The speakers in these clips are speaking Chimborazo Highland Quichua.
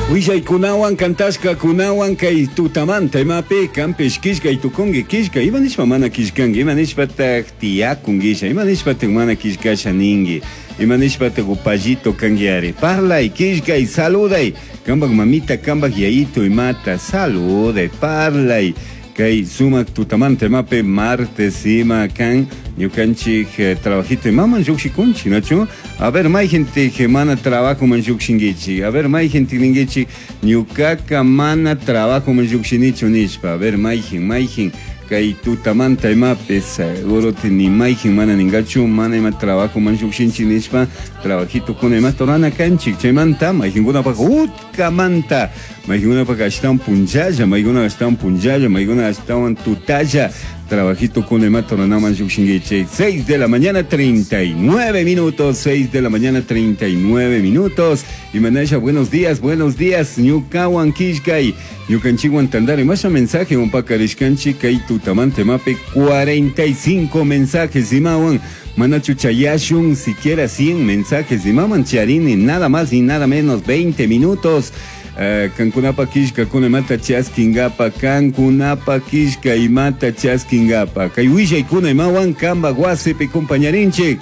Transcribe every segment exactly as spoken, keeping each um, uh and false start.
Willaykunawan kantashkakunawan kay tutamanta imapi kanpish killkay tukunki killkay ima nishpa mana killkanki ima nishpataq tiyakunkisha ima nishpataq mana killkasha ninki ima nishpataq upallito kankiari parlay killkay saluday kanpak mamita kanpak yayito imata saluday parlay kay sumak tutamanta imapi martes ima kan ñukanchik eh, trabajito imaman llukshikunchik nachu a ver mayjintik mana trabajoman llukshinkichik a ver mayjintik ninkichik ñukaka mana trabajoman llukshinichu nishpa a ver mayjin mayjin kay tutamanta imapi seguro ni mayjin mana ninkachu mana ima trabajoman llukshinchik nishpa trabajito kuna imata rurana kanchik chaymanta mayjinkunapak utkamanta mayjinkunapak ashtawan punchalla maykuna ashtawan punchalla maykuna ashtawan tutalla trabajito con imata ruranaman llukshinkichik seis de la mañana treinta y nueve minutos seis de la mañana treinta y nueve minutos imanasha buenos días buenos días ñukawan killkay ñukanchikwan tantari masha mensaje umpakarishkanchik kay tutamanta imapi cuarenta y cinco mensajes imawan manachu chayashun siquiera cien mensajes imaman charini nada más y nada menos veinte minutos. Uh, kankunapa killka kuna imata chaskinkapa kankunapa killka imata chaskinkapa kay willaykuna imawan kanpak wasipi compañarinchik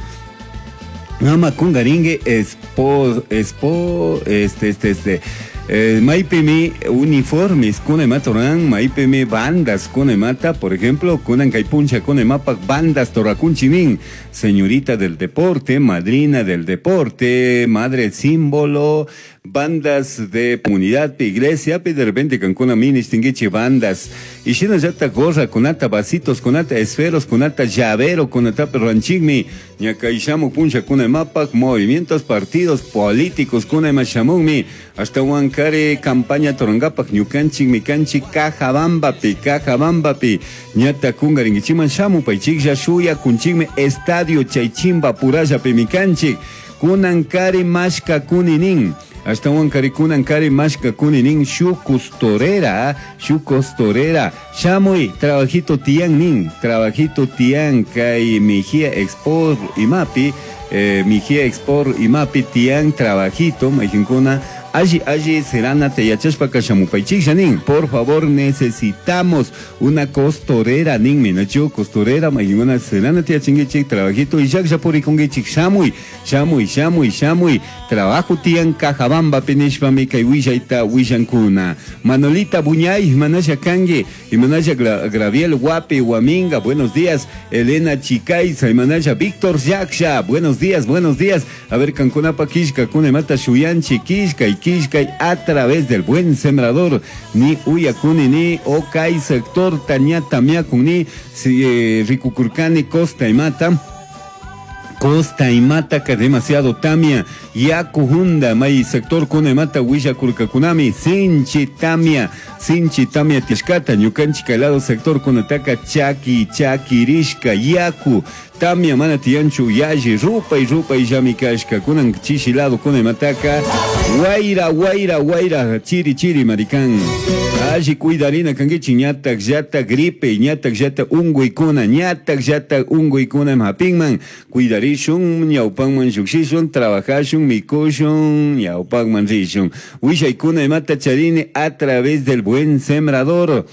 ama kungarinki espo espo este este este eh, maypimi uniformes kuna imata ruran maypimi bandas kuna imata por ejemplo kunan kay puncha kuna imapak bandas torrakunchik nin señorita del deporte madrina del deporte madre símbolo bandas de comunidad de iglesia de repente kankuna ministinkichik bandas y shinallata gorra kunata vasitos kunata esferos kunata llavero kunata ranchikmi ñakay shamuk puncha kuna imapak movimientos partidos políticos kuna ima shamunmi ashtawan kari campaña turankapak ñukanchik mikanchik Cajabambapi Cajabambapi ñata kunkarinkichikman shamupaychiklla shuyakunchikmi estadio chaychimba purallapi mikanchik kunan kari mashka kuninin ashtawan kari kunan kari mashka kuninin shuk costorera shuk costorera shamuy trabajito tiyan nin trabajito tiyan kay Mejía Export imapi eh, Mejía Export imapi tiyan trabajito mayjinkuna alli alli serana te yachashpaka shamupaychiklla nin por favor necesitamos una costorera ninmi nachu costorera mayjinkuna serana te yachinkichik trabajito y llaklla purikunkichik shamuy shamuy shamuy shamuy trabajo tiyan Cajabambapi nishpami kay willayta willankuna Manolita Buñay imanasha kanki imanasha Gra Graviel Guapi Huaminga buenos días Elena Chicaiza imanasha Víctor Yaksha buenos días buenos días a ver kankunapa killka kuna imata shuyanchik killkay killkay a través del buen sembrador ni uyakuni ni okay sector tañata miakun ni si, eh, rikukurkani costa imata Costa imata ka demasiado tamia yaku hunda may sector kuna imata willakurkakunami sinchi tamia sinchi tamia tishkata ñukanchik kay lado sector kunataka chaki chakirishka yaku tamia mana tiyanchu yalli rupay rupay llami kashka kunan chishi lado kuna imataka wayra wayra wayra chiri chiri marikan alli cuidarina kankichik ñatak llata gripe ñatak llata unkuykuna ñatak llata unkuykuna hapinman cuidarishun ñawpanman llukshishun trabajashun mikushun ñawpanman rishun willaykuna imata charini a través del buen sembrador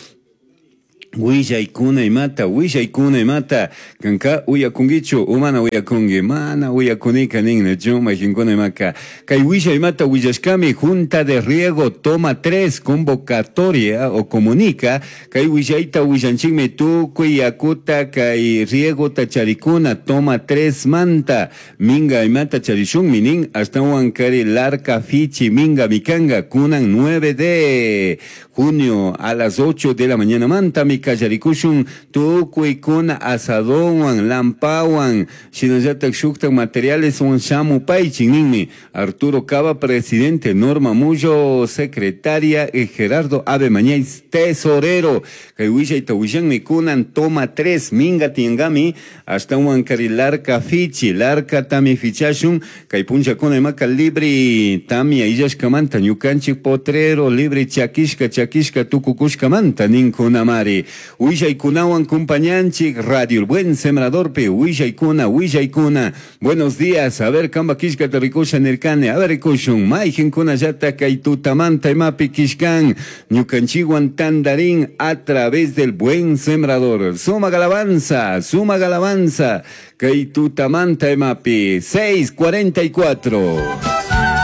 willaykuna imata willaykuna imata kanka uyakunkichu o mana uyakunki mana uyakunika ninnachu mayjinkuna imaka kay willay imata willashkami junta de riego toma tres convocatoria o comunica kay willayta willanchikmi tukuy yakuta kay riegota charikuna toma tres manta minga imata charishunmi nin ashtawan kari larca fichi minga mikanga kunan nueve de junio a las ocho de la mañana manta mi kallarikushun tukuykuna asadowan lampawan shinallatak shuktak materiales wan shamupaychik ninmi Arturo Cava presidente Norma Mullo secretaria y Gerardo Ave Mañez tesorero kay willayta willanmi kunan toma tres minga tiangami ashtawan kari larca fichi larca tami fichashun kay punchakuna imaka libre tamia illashkamanta ñukanchik potrero libre chakishka Llaquishca tucucushcamanta ninkunamari. Willaykunawan kumpañanchik Radio El Buen Sembradorpi willaykuna willaykuna. Buenos días, a ver kamba killkata rikusha nirkani, a ver rikushun mayqinkunallata kay tutamanta imapi killkan ñukanchikwan tandarin a través del Buen Sembrador. Suma alabanza, suma alabanza kay tutamanta imapi seis cuarenta y cuatro.